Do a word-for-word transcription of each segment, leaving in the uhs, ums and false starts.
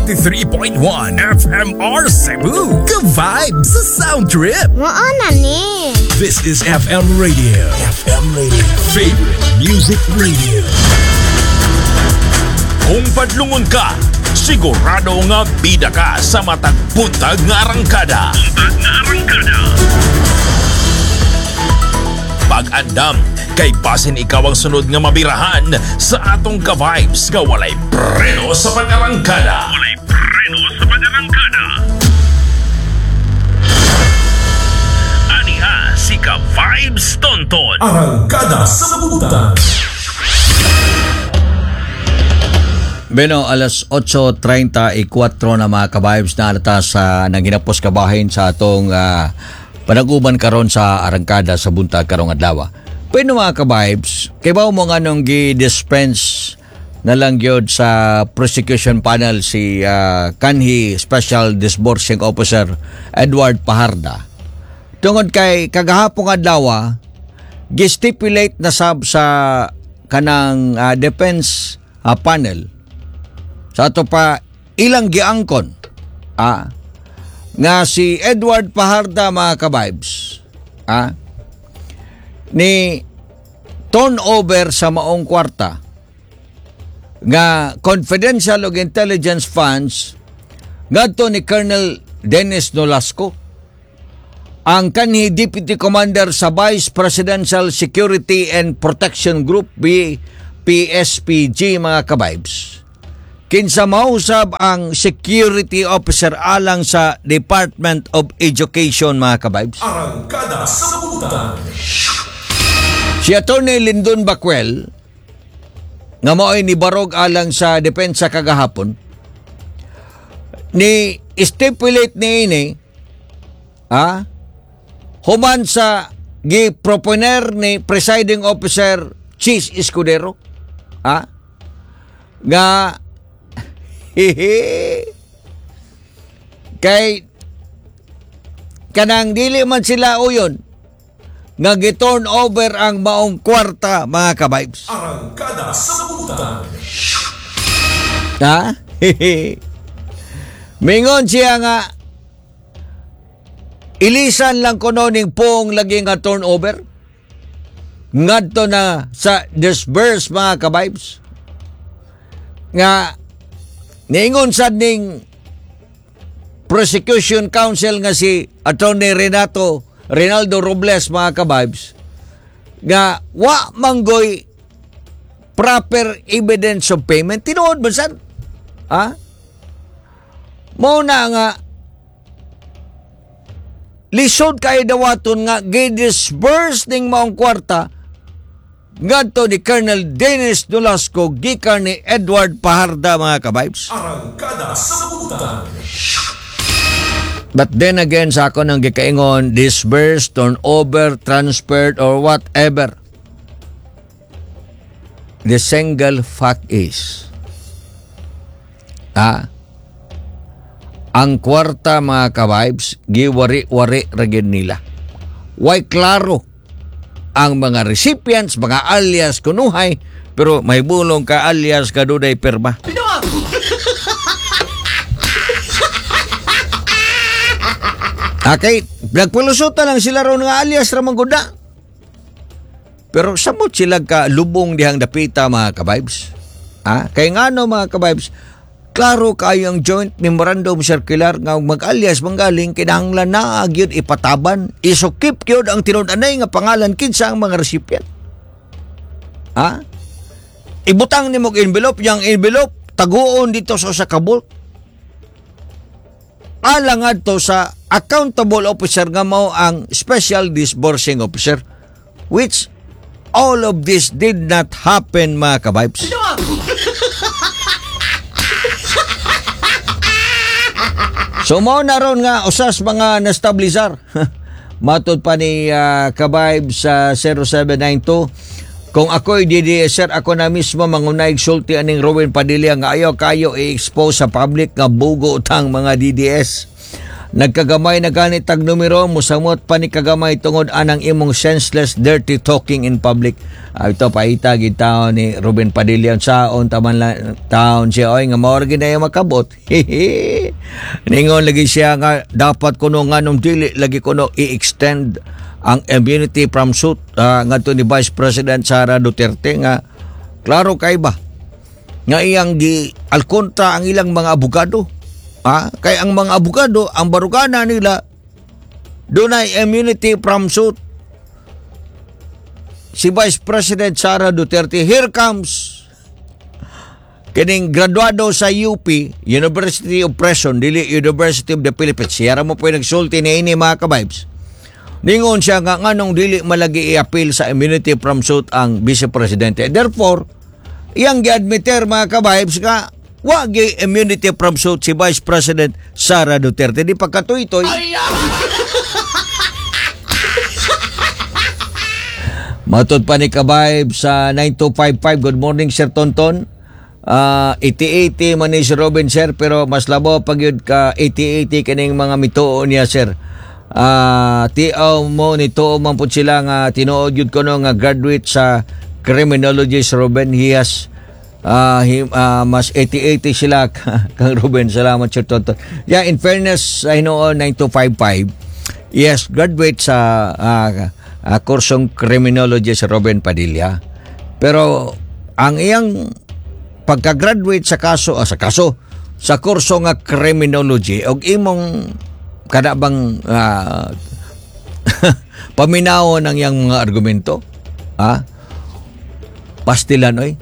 ninety-three point one F M R Cebu. Good vibes sa Sound Trip. Mao na ni. This is F M Radio. F M Radio. Favorite Music Radio. Kung padlungon ka, sigurado nga bida ka sa matag buntag nga arangkada. Buntag nga arangkada. Pag-andam, kay basin ikaw ang sunod nga mabirahan sa atong ka-vibes nga walay preno sa pag-arangkada. Walay preno sa pag-arangkada. Aniha si Ka-Vibes Tonton. Arangkada sa Buntag. Bueno, alas otso treinta y cuatro na, mga ka-vibes, na alata sa nanghinapos kabahin sa atong uh, panaguban karon sa arangkada sa buntag karong adlaw. Pero mga ka-vibes, kay mo nga nung gi-dispense na lang gyud sa prosecution panel si uh, kanhi Special Disbursing Officer Edward Pajarda. Tungod kay kagahapong adlaw, gi-stipulate na sab sa kanang uh, defense uh, panel sa ato pa ilang giangkon ah, nga si Edward Pajarda, mga ka-vibes, ah, ni turnover sa maong kwarta nga confidential og intelligence funds ngadto ni Colonel Dennis Nolasco, ang kanhi Deputy Commander sa Vice Presidential Security and Protection Group, V P S P G, mga ka-vibes, kinsa mausab ang security officer alang sa Department of Education, mga ka-vibes. Arangkada sa Buntag. Si Attorney Lindon Bacuel nga mao'y ni barog alang sa depensa kagahapon, ni stipulate ni ini ah human sa gi-proponer ni presiding officer Chiz Escudero ah nga hihi kay kanang dili man sila uyon nga gi-turn over ang maong kwarta, mga ka-vibes. Arangkada sa Buntag. Ha? Mingon siya nga ilisan lang kuno ning pong lagi nga turnover ngadto na sa disburse, mga ka-vibes, nga niingon sad ning prosecution counsel nga si Attorney Renato Reynaldo Robles, mga ka-vibes, nga wa manggoy proper evidence of payment. Tinuod ba sad ha? Mao na nga lisod kay dawaton nga gi-disburse ning maong kwarta ngadto ni Colonel Dennis Nolasco gikan ni Edward Pajarda, mga ka-vibes. Arangkada sa Buntag. But then again, sa ako nang gikaingon, disbursed, turnover, transferred, or whatever. The single fact is, ah, ang kwarta, mga ka-vibes, giwari-wari ra gyud nila. Way klaro ang mga recipients, mga alias kunuhay, pero may bulong ka alias kadunay pirma. Okay, nagpalusutan lang sila ron nga alias ra man gud na. Pero samot sila ka lubong dihang dapita, mga ka-vibes. Ah, kay ngano, mga ka-vibes, klaro kayo ang joint memorandum circular nga mag-alias manggaling kinahanglan na gyud ipataban, isukip gyud ang tinud-anay nga pangalan kinsa ang mga recipient. Ha? Ibutang nimo og envelope, yang envelope taguon dito sa usa ka bulk. Alang adto sa accountable officer nga mao ang special disbursing officer, which all of this did not happen, mga ka-vibes. So mao na ron nga usas mga nastabilisar. Matod pa ni uh, ka-vibes sa zero seven nine two, kung ako'y D D S, sir, ako na mismo mangunay sulti aning Robin Padilla nga ayaw kayo i-expose sa public nga bugo tang mga D D S. Nagkagamay na gani tag numero, musamot pa ni kagamay tungod anang imong senseless dirty talking in public. Ah, ito paita gid taon ni Ruben Padilla saon taman la, taon siya oy nga mao ra gid na makabot. Ningon lagi siya nga dapat kuno nganong dili lagi kuno i-extend ang immunity from suit uh, ngadto ni Vice President Sara Duterte nga klaro kay ba nga iyang gi alkontra ang ilang mga abogado. Ah, kay ang mga abogado, ang barugana nila dunay immunity from suit. Si Vice President Sara Duterte, here comes kining graduado sa U P, University of Prison, dili University of the Philippines. Siya ra mo po yung nagsulti ni ini, mga kabibes. Ningon siya nga nganong dili malagi i-appeal sa immunity from suit ang Vice Presidente. Therefore, iyang gi-admitter, mga kabibes, nga wa gi immunity from suit si Vice President Sara Duterte. Di pagkatuy-toy. Matod pa ni Kabayb sa nine two five five, good morning, Sir Tonton. Uh, eighty-eighty man ni si Robin, sir, pero mas labo pag yun ka eighty-eighty kining mga mituo niya, sir. Uh, tiaw mo nito man pud sila nga tinuod yun ko no nga graduate sa criminology si Robin. He has uh, he, uh, mas eighty-eighty sila kang Ruben. Salamat, Sir Tonton. Yeah, in fairness sa hinuon nine two five five, yes, graduate sa uh, uh, kursong criminology si Ruben Padilla. Pero ang iyang pagka-graduate sa kaso, ah, sa kaso, sa kurso nga criminology, og imong kada bang uh, paminawon ang iyang mga argumento, ah, pastilan oy.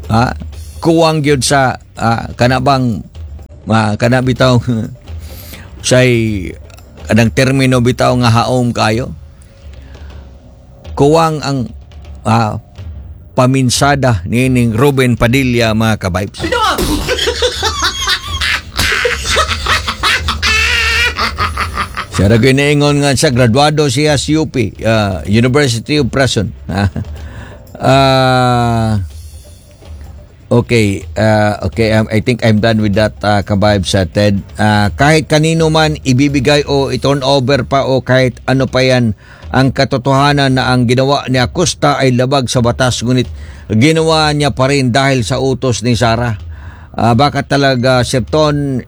Ah, kuwang gyud sa ah, kana bang ah, kana bitaw say kanang termino bitaw nga haom kayo. Kuwang ang ah, paminsada nining Ruben Padilla, mga kabibes. Siya ra ginaingon nga siya, graduado siya sa U P, uh, University of Prison. Ah, okay, uh, okay, um, I think I'm done with that, uh, kabibes sa Ted. Uh, kahit kanino man ibibigay o i-turn over pa o kahit ano pa yan, ang katotohanan na ang ginawa ni Acosta ay labag sa batas, ngunit ginawa niya pa rin dahil sa utos ni Sara. Uh, baka talaga, Sir Ton,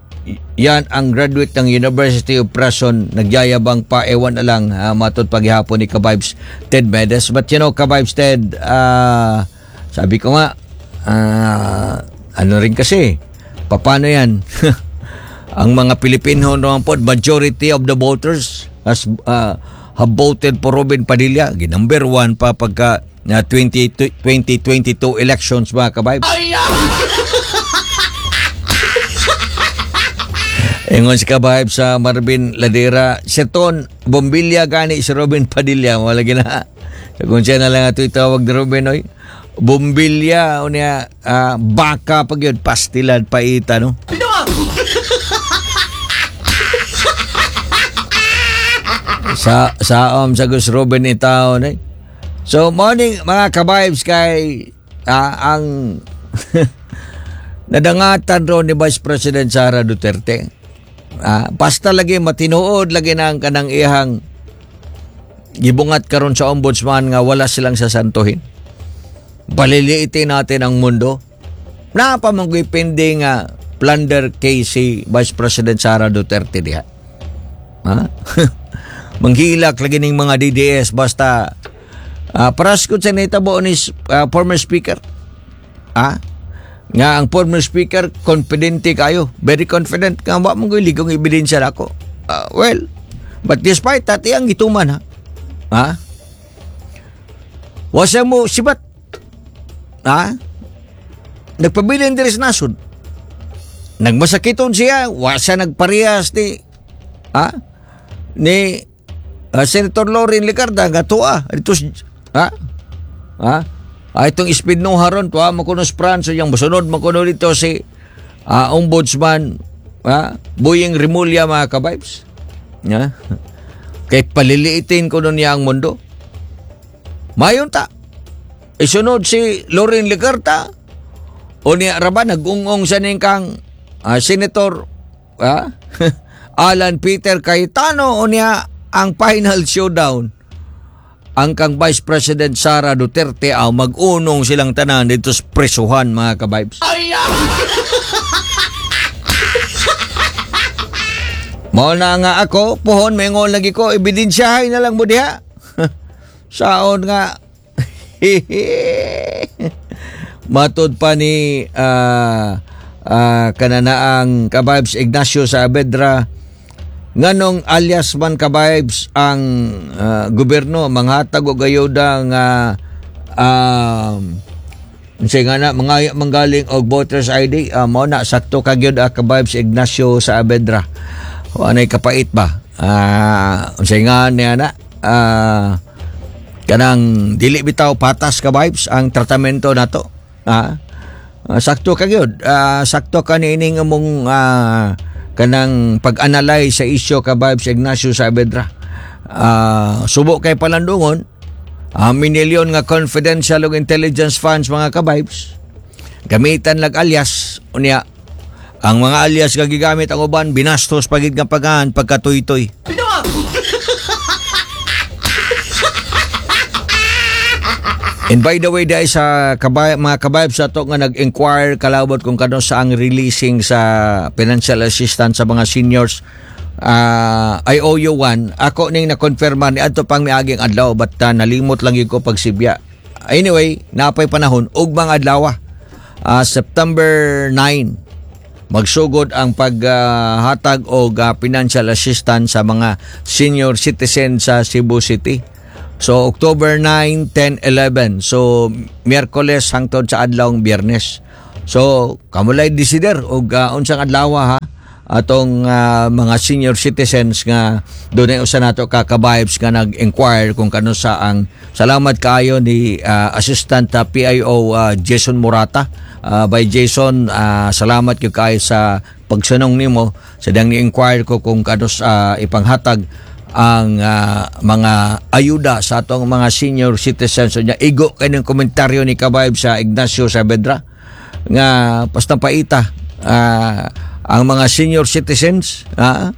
yan ang graduate ng University of Prison, nagyayabang pa, ewan na lang, uh, matod paghihapon ni Kabibes Ted Medes. But you know, Kabibes Ted, uh, sabi ko nga, uh, ano rin kasi, paano yan? Ang mga Pilipino naman po, majority of the voters has, uh, have voted for Robin Padilla. Number one pa pagka uh, twenty twenty-two elections, mga kabibes. Ingon si Kabahib sa Marvin Ladera, Sir Ton, bombilya gani si Robin Padilla. Wala gina. Sa kung siya na lang ato itawag ni Robin, oy. Bombilya, o niya, uh, baka pag yun, pastilad, paita, no? sa sa um, sa Gus Robin itaon, eh. So, morning mga kabibes kay uh, ang nadangatan ron ni Vice President Sara Duterte. Ah, basta lagi matinuod lagi na ang kanang iyang gibungat karon sa ombudsman nga wala silang sasantuhin. Paliliitin natin ang mundo. Napamanggoy pending nga plunder case si Vice President Sara Duterte diha. Ha? Manghilak lagi ning mga D D S basta uh, paraskot sa nitabo ni uh, former speaker. Ah? Nga ang former speaker confidente kayo, very confident nga wa man goy ligong ebidensya nako. Uh, well, but despite that iyang gituman ha. Ha? Wasa mo sibat. Ha? Nagpabilin diri sa nasod. Nagmasakiton siya, wa siya nagparehas ni ha? Ni uh, Senator Loren Legarda nga tuwa dito ha? Ha? Ah, itong speed no haron tuwa mo kuno Franz yang mosunod mo kuno dito si uh, Ombudsman ha? Boying Remulla, mga kabibes. Ha? Kay paliliitin kuno niya ang mundo. Mayon ta. Isunod si Loren Legarda o niya raba nagungong sa ning kang uh, Senator ha? Alan Peter Cayetano. Unya ang final showdown, ang kang Vice President Sara Duterte, aw mag-unong silang tanan dito sa presuhan, mga ka-vibes. Mao na nga ako, pohon, maingon lagi ko, ebidensyahay na lang mo diha. Saon nga. Matod pa ni uh, uh, kananaang ka-vibes Ignacio Saavedra, nganong alias man, ka-vibes, ang uh, gobyerno manghatag og ayuda nga um, unsay nga na mga manggaling og voters I D. uh, mao na sakto ka gyud, uh, ka-vibes Ignacio Saavedra. Anay kapait ba, uh, unsay nga niya na uh, kanang dili bitaw patas, ka-vibes, ang tratamento nato. ah uh, sakto ka gyud, uh, sakto ka niining among uh, kanang pag-analyze sa isyu, ka-vibes Ignacio Saavedra. Uh, subo kay palandungon uh, minilyon nga confidential ug intelligence funds, mga ka-vibes, gamitan lag alias. Unya ang mga alias nga gigamit ang uban binastos pagid nga pagahan pagkatuy-toy. And by the way, dahil sa kabay, mga kabayab sa to nga nag-inquire kalabot kung kano sa ang releasing sa financial assistance sa mga seniors, uh, I owe you one. Ako ning na-confirma ni adto pang miaging adlaw, but uh, nalimot lang yun ko pagsibya. Anyway, napay panahon ugmang adlaw. Uh, September nine magsugod ang paghatag uh, og uh, financial assistance sa mga senior citizen sa Cebu City. So October nine, ten, eleven. So Miyerkules hangtod sa adlawng Biyernes. So kamulay desider og uh, unsang adlaw ha atong uh, mga senior citizens nga dunay usa nato ka ka-vibes nga nag-inquire kung kano sa ang. Salamat kaayo ni uh, Assistant uh, P I O uh, Jason Murata. Uh, by Jason, uh, salamat gyud kaayo sa pagsunong nimo sa dang ni-inquire ko kung kano sa uh, ipanghatag ang uh, mga ayuda sa atong mga senior citizens. So, nya igo kay ng komentaryo ni ka-vibe sa Ignacio Saavedra nga basta paita uh, ang mga senior citizens, uh,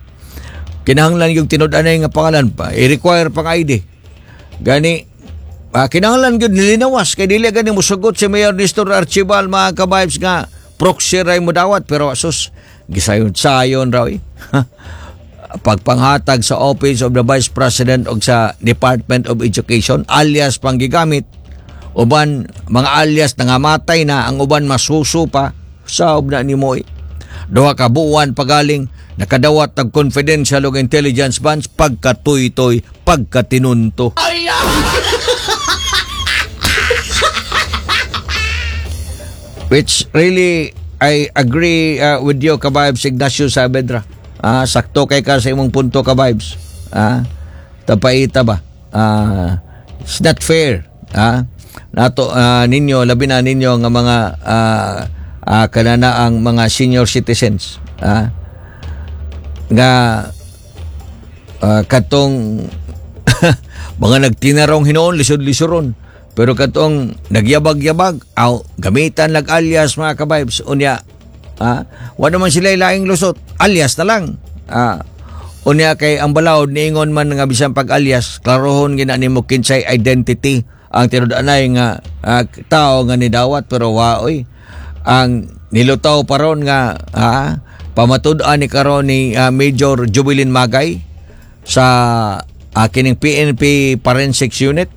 kinahanglan yung tinud-anay nga pangalan pa, i-require pang I D gani, uh, kinahanglan gyud nilinawas kay dili gani musugot si Mayor Nestor Archival, mga ka-vibes, nga proxy ray mo dawat. Pero sus, gisayon-sayon raw eh. Pagpanghatag sa Office of the Vice President o sa Department of Education, alias panggigamit. Uban mga alias nangamatay na, ang uban masuso pa sa na nimo eh. Duha ka buwan pagaling nakadawat og confidential ug intelligence funds, pagkatuytoy, pagkatinunto. Which really I agree uh, with you, ka-vibes Ignacio Saavedra. Ah, sakto kay ka sa imong punto, ka-vibes. Ah, tapaita ba? Ah, it's not fair. Ah, nato uh, ninyo, labi na ninyo nga mga uh, uh, kanana ang mga senior citizens. Ah, nga uh, katong mga nagtinarong hinuon lisod-lisoron. Pero katong nagyabag-yabag, aw gamitan lag alias, mga ka-vibes. Unya, ah, wala man sila laing lusot, alias na lang. Ah, unya kay ang balaod niingon man nga bisan pag alias, klarohon gina nimo kinsay identity ang tinud-anay nga uh, tao nga nidawat. Pero waoy, ang nilutaw paron nga ah, pamatud-an ni karon ni uh, Major Jubilin Magay sa uh, kining P N P Forensics Unit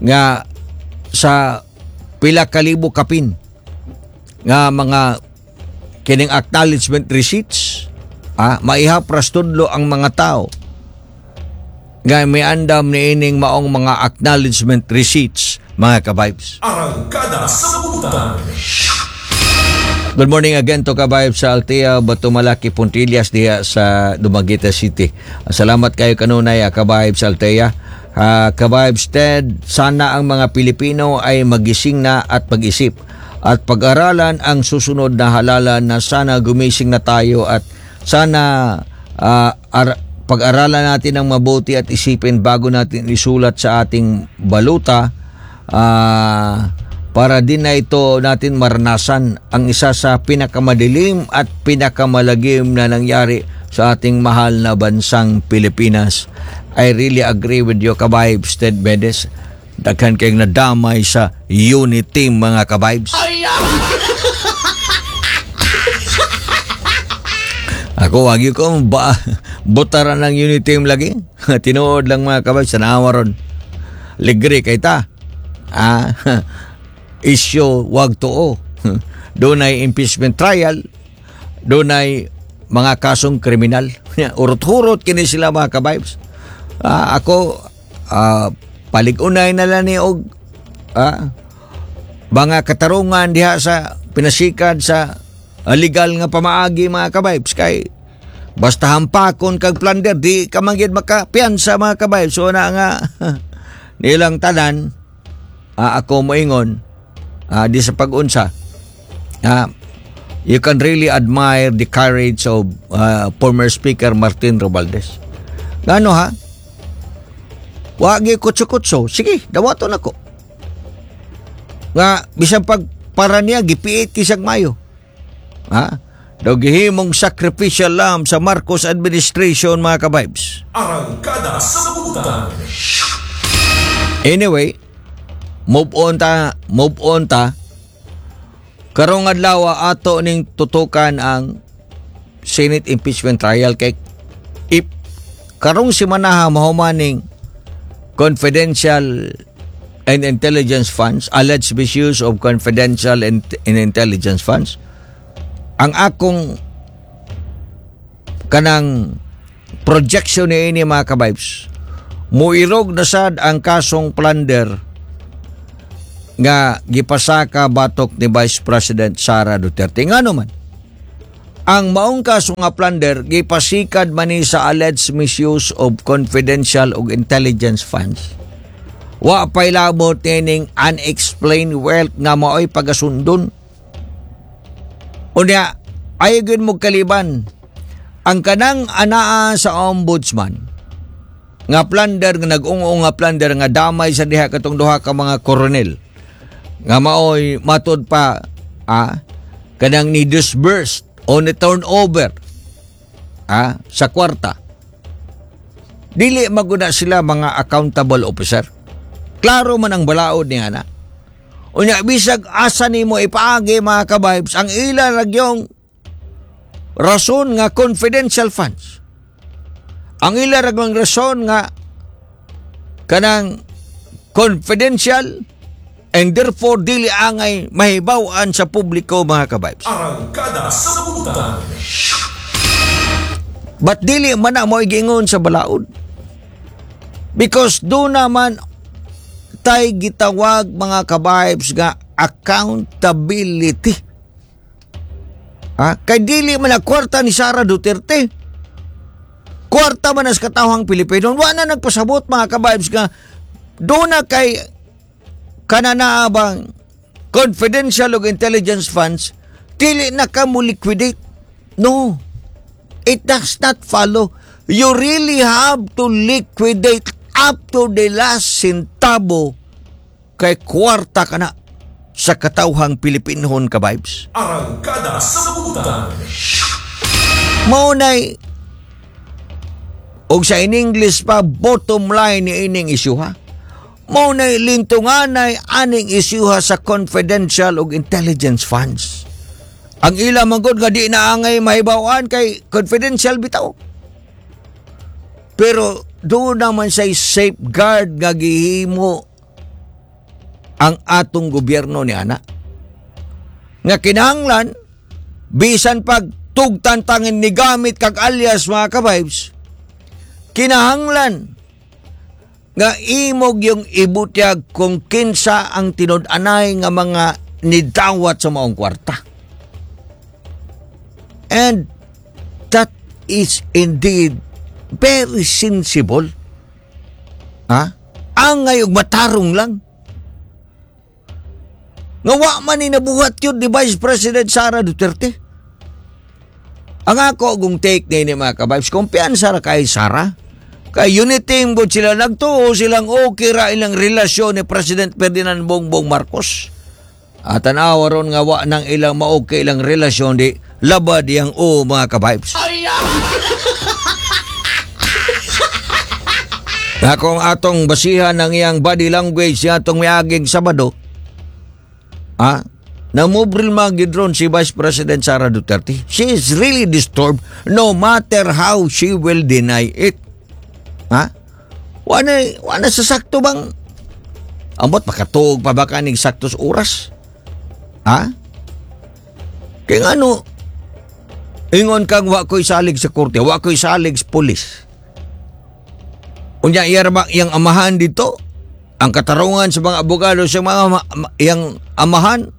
nga sa pila kalibo kapin nga mga kining acknowledgement receipts, ah, maihapras tudlo ang mga tao nga may andam ni ining maong mga acknowledgement receipts, mga ka-vibes. Arangkada sa Buntag. Good morning again to ka-vibes sa Altea, Batumalaki, Puntillas diha sa Dumaguete City. Salamat kayo kanunay, ka-vibes Altea. Uh, ka-vibes Ted, sana ang mga Pilipino ay magising na at pag-isip at pag-aralan ang susunod na halalan na sana gumising na tayo at sana uh, ar- pag-aralan natin ang mabuti at isipin bago natin isulat sa ating baluta, uh, para din na ito natin maranasan ang isa sa pinakamadilim at pinakamalagim na nangyari sa ating mahal na bansang Pilipinas. I really agree with you, ka-vibes, Ted Medes. Daghan kayong nadamay sa unity, mga ka-vibes. Ako, wag ko ba, butaran ng unity team lagi. Tinuod lang, mga ka-vibes, tanawa ron. Ligri kay ta. Ah, issue wag tuo. Doon ay impeachment trial, doon ay mga kasong kriminal. Urot-hurot kini sila, mga ka-vibes. Ah, ako, ah, palig-unay na lang ni og ah, mga katarungan diha sa pinasikad sa legal nga pamaagi, mga ka-vibes, kay basta hampakon kag plunder, di ka man gid makapiyansa, mga ka-vibes. So na nga nilang tanan, ah, ako moingon, ah, di sa pag-unsa, ah, you can really admire the courage of uh, former Speaker Martin Romualdez. Ngano ha? Wagi kutso-kutso. Sige, dawaton ako. Nga, bisan pag para niya, gipiit kisag mayo. Ha? Daw gihimong sacrificial lamb sa Marcos administration, mga ka-vibes. Arangkada sa buntag. Anyway, move on ta, move on ta. Karong adlaw ato ning tutukan ang Senate impeachment trial kay if karong simanaha mahumaning confidential and intelligence funds, alleged misuse of confidential and, and intelligence funds, ang akong kanang projection ni ini, mga ka-vibes, muirog na sad ang kasong plunder nga gipasaka batok ni Vice President Sara Duterte. Ngano man, ang maong kaso nga plunder gipasikad man ni sa alleged misuse of confidential ug intelligence funds. Wa pa'y labot nining unexplained wealth nga maoy pagasundon. Unya, ayaw mo kaliban ang kanang anaa sa ombudsman nga plunder, nga nag-ung-ung nga plunder nga damay sa diha katong duha ka mga koronel nga maoy matud pa ah, kanang ni disbursed o ni turnover ah, sa kwarta. Dili maguna sila mga accountable officer. Klaro man ang balaod ni ana. Unya bisag asa nimo ipaagi, mga ka-vibes, ang ila ragyong rason nga confidential funds. Ang ila ragyong rason nga kanang confidential and therefore dili angay mahibaw-an sa publiko, mga ka-vibes. Arangkada sa buntag. But dili man na mo giingon sa balaod. Because do naman tay gitawag, mga ka-vibes, nga accountability. Ha? Kay dili man na kwarta ni Sara Duterte. Kwarta man as katawhang Pilipino. Wa na nagpasabot, mga ka-vibes, nga do na kay kananaabang confidential ug intelligence funds, dili na ka mo liquidate. No. It does not follow. You really have to liquidate up to the last centavo kay kwarta ka na sa katawhang Pilipinhon, ka-vibes. Arangkada sa buntag. Maunay og sa in English pa, bottom line ni ining isyuha. Maunay lintunganay aning isyuha sa confidential ug intelligence funds. Ang ila manggod nga di na angay mahibaw-an kay confidential bitaw. Pero doon naman say safeguard nga gihimo ang atong gobyerno ni ana. Nga kinahanglan bisan pag tugtantangin ni gamit kag alias, mga ka-vibes, kinahanglan nga imog yung ibutyag kung kinsa ang tinud-anay nga mga nidawat sa maong kwarta. And that is indeed very sensible. Ha? Ang ngayog matarong lang. Nga wa man ni nabuhat yun ni Vice President Sara Duterte. Ang ako kung take ni mga ka-vibes, kumpiyansa ra kay Sara. Kay unity good sila, nagtuo silang okay ra ilang relasyon ni President Ferdinand Bongbong Marcos. At tanawa ron nga wa nang ilang ma-okay ilang relasyon, di labad yang o, mga ka-vibes. Na kung atong basihan ng iyang body language sa atong miaging Sabado, ah, namobril magidron si Vice President Sara Duterte. She is really disturbed no matter how she will deny it. Ha? Wala, wala sa sakto bang ambot makatuog pa ba kaning sakto sa oras? Ha? Kaya nga ano, ingon kang wa ko'y salig sa korte, wa ko'y salig sa pulis. Unya iya ra ba iyang amahan dito? Ang katarungan sa mga abogado sa mga ma- ma- iyang amahan?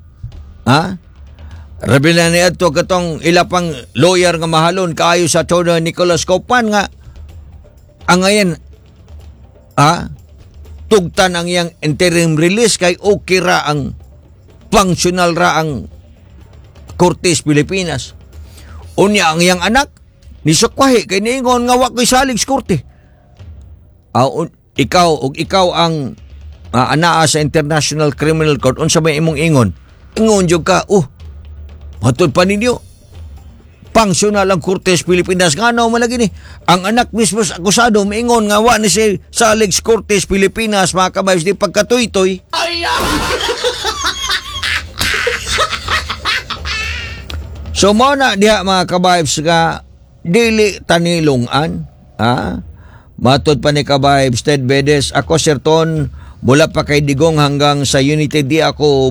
Ha? Rabi na niya ito katong ila pang lawyer nga mahalon kaayo sa Atty. Nicholas Kaufman nga ang ngayon ha? Tugtan ang iyang interim release kay okay ra ang functional ra ang Korte sa Pilipinas. Unya ang iyang anak ni sukwahi kay niingon nga wa ko'y salig sa korte. Ah, un- ikaw ug ikaw ang uh, anaa sa International Criminal Court, unsa may imong ingon? Ingon jud ka, oh, matud pa ninyo functional ang Korte sa Pilipinas. Ngano man lagi ni ang anak mismo sa akusado miingon nga wa ni si salig sa Korte sa Pilipinas, mga kabayos, di pagkatuytoy. So mo na diha, mga kabibes, nga dili tanilungan, ha? Matod pa ni Kabibes Ted Bedes, ako Sir Ton, mula pa kay Digong hanggang sa Unity, di ako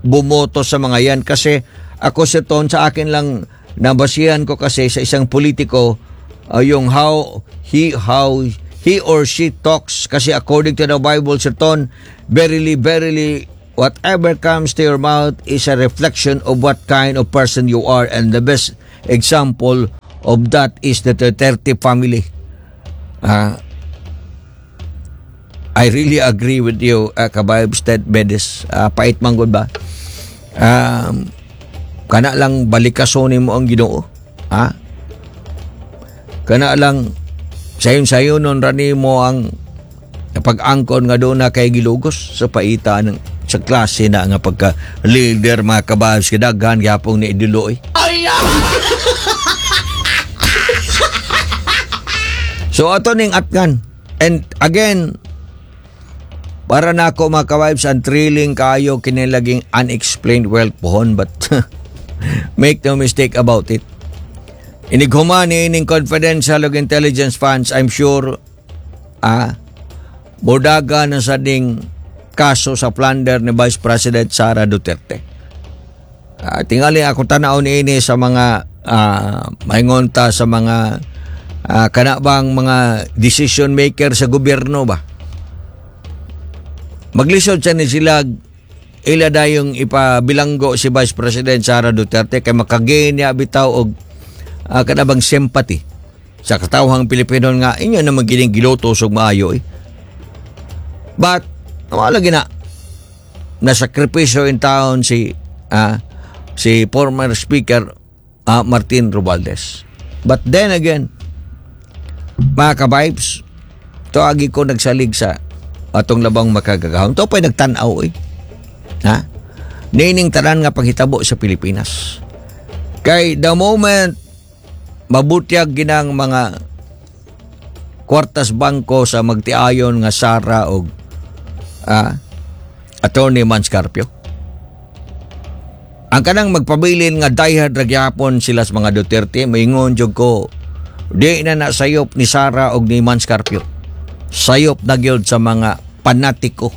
bumoto sa mga yan kasi ako, Sir Ton, sa akin lang nabasihan ko kasi sa isang politiko uh, yung how he how he or she talks, kasi according to the Bible, Sir Ton, verily, verily, whatever comes to your mouth is a reflection of what kind of person you are, and the best example of that is the Duterte family. Ah, I really agree with you, uh, Kabayab Ted Bedes. Uh, pait man gud ba? Um, kana lang balikason mo ang Ginoo. Ha? Kana lang sayon-sayon nun rani mo ang pag-angkon nga doon na kay gilugos sa paita ng sa klase na nga pagka leader, mga kabayab, kadaghan gyapon ni idiloy. So ato ning atkan. And again, para na ako, mga ka-vibes, ang thrilling kayo kinilaging unexplained wealth pohon, but make no mistake about it. Inighuma ni ining confidential ug intelligence funds, I'm sure ah modaga na sa ding kaso sa plunder ni Vice President Sara Duterte. Ah, tingali ako tanaw ni ini sa mga ah, maingon ta sa mga ah, kana bang mga decision maker sa gobyerno ba? Maglisod sa ni sila ila dayong ipabilanggo si Vice President Sara Duterte kay makagain niya bitaw og uh, kana bang sympathy sa katawhang Pilipino nga inyo naman gining giluto og maayo eh. But wala gina nasakripisyo in town si ah, si former Speaker ah, Martin Romualdez. But then again, mga ka-vibes, to agi ko nagsalig sa atong labang makagagahom. To pa'y nagtanaw eh. Ha? Nining tanan nga panghitabo sa Pilipinas. Kay the moment mabutyag ginang mga kwartas bangko sa magtiayon nga Sara og ah, Attorney Mans Carpio. Ang kanang magpabilin nga diehard ra gyapon sila sa mga Duterte, maingon jud ko di na na sayop ni Sara og ni Mans Carpio. Sayop na gyud sa mga panatiko.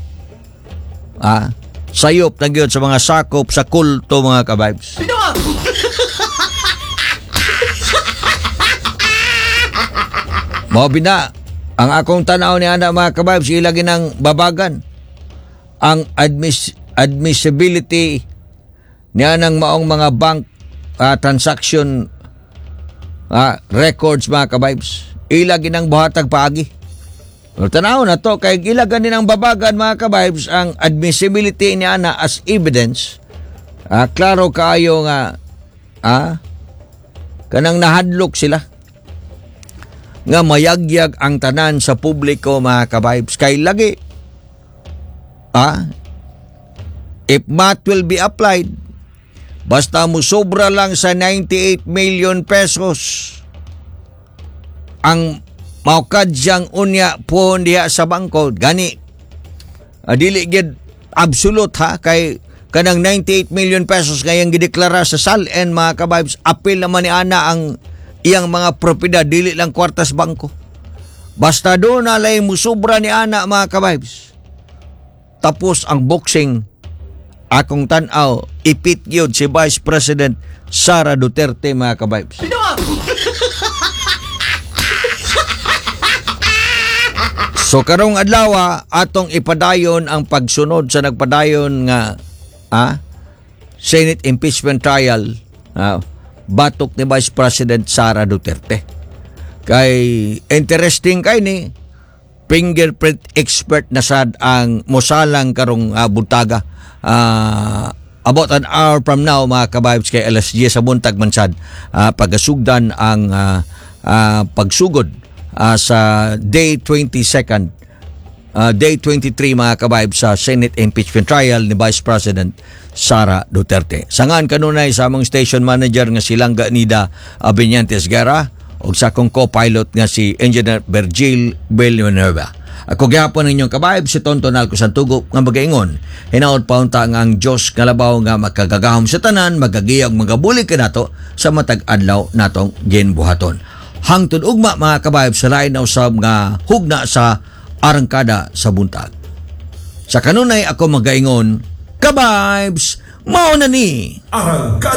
Ah, sayop na gyud sa mga sakop sa kulto, mga ka-vibes. Mao bina ang akong tanaw ni ana, mga ka-vibes, ila ginang babagan ang admiss- admissibility niya ng maong mga bank ah, transaction ah, records, mga ka-vibes. Ila ginang buhatag paagi. Pero tanaw na to kay ila ganin ang babagan, mga ka-vibes, ang admissibility niya na as evidence. Ah, klaro kaayo nga ah, kanang nahadlok sila nga mayagyag ang tanan sa publiko, mga ka-vibes, kay lagi ah, if math will be applied, basta mo sobra lang sa ninety-eight million pesos ang Maukadyang unya puhon diha sa bangko gani uh, dili gyud absolute ha, kay kanang ninety-eight million pesos ngayang gideklara sa SALN, mga kabibes, apil naman ni ana ang iyang mga propiedad, dili lang kwartas bangko. Basta duna lay musubra ni ana, mga kabibes, tapos ang boxing. Akong tan-aw, ipit gyud si Vice President Sara Duterte, mga kabibes. So karong adlaw atong ipadayon ang pagsunod sa nagpadayon nga ah, Senate impeachment trial ah, batok ni Vice President Sara Duterte. Kay interesting kay ni fingerprint expert na sad ang mosalang karong uh, buntaga. Ah, about an hour from now, mga kabibes, kay alas diyes sa buntag man sad uh, pagasugdan ang ah, ah, pagsugod ah, sa day twenty-second, uh, day twenty-three, mga kabibes, sa Senate impeachment trial ni Vice President Sara Duterte. Sangan kanunay sa among station manager nga si Langga Nida Abinyantes Guerra ug sa akong co-pilot nga si Engineer Virgil Villanueva. Ako gyapon inyong kabayb, si Tonton Alco Santugo, nga magaingon, hinaot paunta nga ang Diyos nga labaw nga makagagahom sa tanan magagiyag magabulig kanato sa matag adlaw natong ginbuhaton. Hangtod ugma, mga kabayb, sa lain na usab nga hugna sa Arangkada sa Buntag. Sa kanunay ako magaingon, kabibes, mao na ni. Arangkada.